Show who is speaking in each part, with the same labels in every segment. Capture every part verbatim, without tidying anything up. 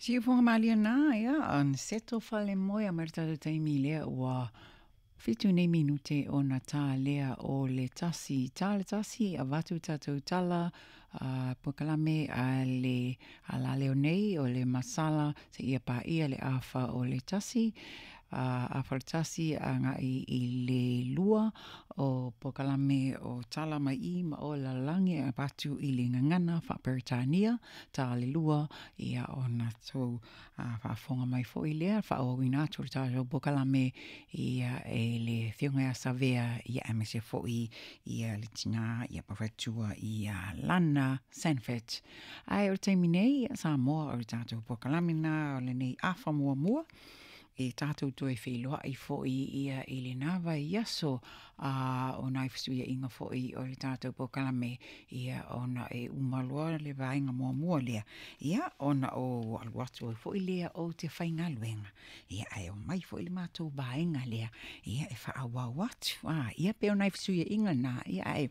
Speaker 1: Siufoga malie na ia an seto fale moe a mai le tatou taimi lea ua fitu nei minute ona tā lea o le tasi. Tā le tasi avatu tatou tala a polokalame a le alaleo nei o le masala seia paia le afa o le tasi. A afa o le tasi agai i le lua o polokalame o tala mai i ma o lalolagi e avatu i le gagana faa-Peretania tā le lua ia ona tou faafofoga mai foi lea faaauauina atu o le tatou polokalame ia e le Afioga ia Savea ia aemaise foi ia le tina ia Pafatua ia Lana Sanford. Ae o le taimi nei Samoa o le tatou polokalame na o lenei afa muamua e tatou toe feiloai foi ia i lena vaiaso a o nai fesuiaiga foi o le tatou polokalame ia ona e uma loa le vaega muamua lea ia ona ou alu atu ai foi lea o te faigaluega ia ae omai foi le matou vaega lea ia e faaauau atu a ia pei o nai fesuiaiga na ia ae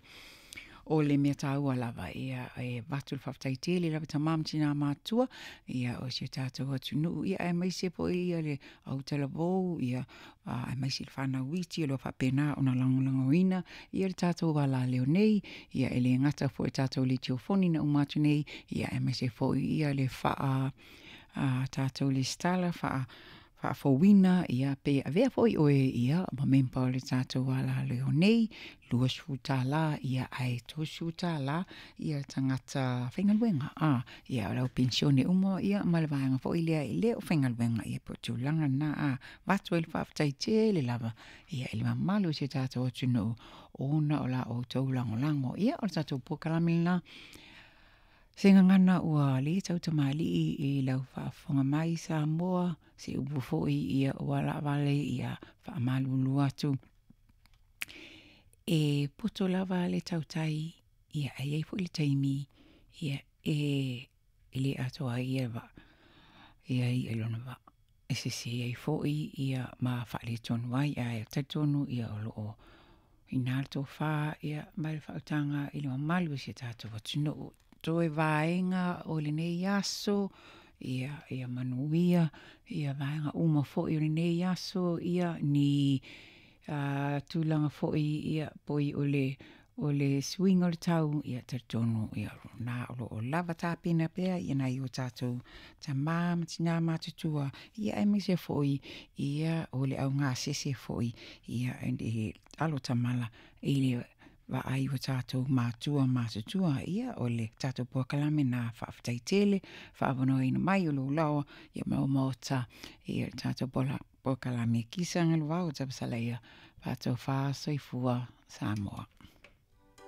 Speaker 1: o le mea taua lava ia e avatu le faafetai tele lava tamā ma tinā matua ia o si o tatou atunuu ia aemaise foi ia le autalavou ia aemaise le fanau iti o lo o faapena ona lagolagoina ia le tatou alaleo nei ia e le gata foi i le tatou letiofoni na uma atu nei ia aemaise foi ia le faa a tatou lesitala faa faafouina ia pe avea foi oe ia ma memba o le tatou alaleo nei luasefulu tālā ia ae tolusefulu tālā ia tagata faigaluega a ia o le au penisione uma ia ma le vaega foi lea e le o faigaluega ia po o tulaga lena a avatu ai le faafetai tele lava ia i le mamalu o si o tatou atunuu ona o la outou lagolago ia o le tatou polokalame lena. Se gagana ua lē tautamalii i lau faafofoga mai Samoa se upu foi ia ua laavale ia faamalulu atu e poto lava le tautai ia ae i ai foi le taimi ia e e lē atoa ai ia vaa ia i'a i lona vaa e sese ai foi ia ma faaletonu ai ae talitonu ia o loo i ina le tofā ia ma le faautaga i le mamalu o si o tatou atunuu toe vaega o lenei aso ia ia manuia ia vaega uma foi o lenei aso ia ni a tulaga foi ia pei o le o le suiga o le tau ia talitonu ia na o loo lava tapena pea ia nai o tatou tamā ma tinā matutua ia aemaise foi ia o le augasese foi ia e alo tamala i le vaai o tatou matua matutua ia o le tatou polokalame na faafetai tele faaavanoaina mai o lou laoa ia ma maota ia le tatou polokalame kisagaluvau tapasalaia faatofā soifua Samoa.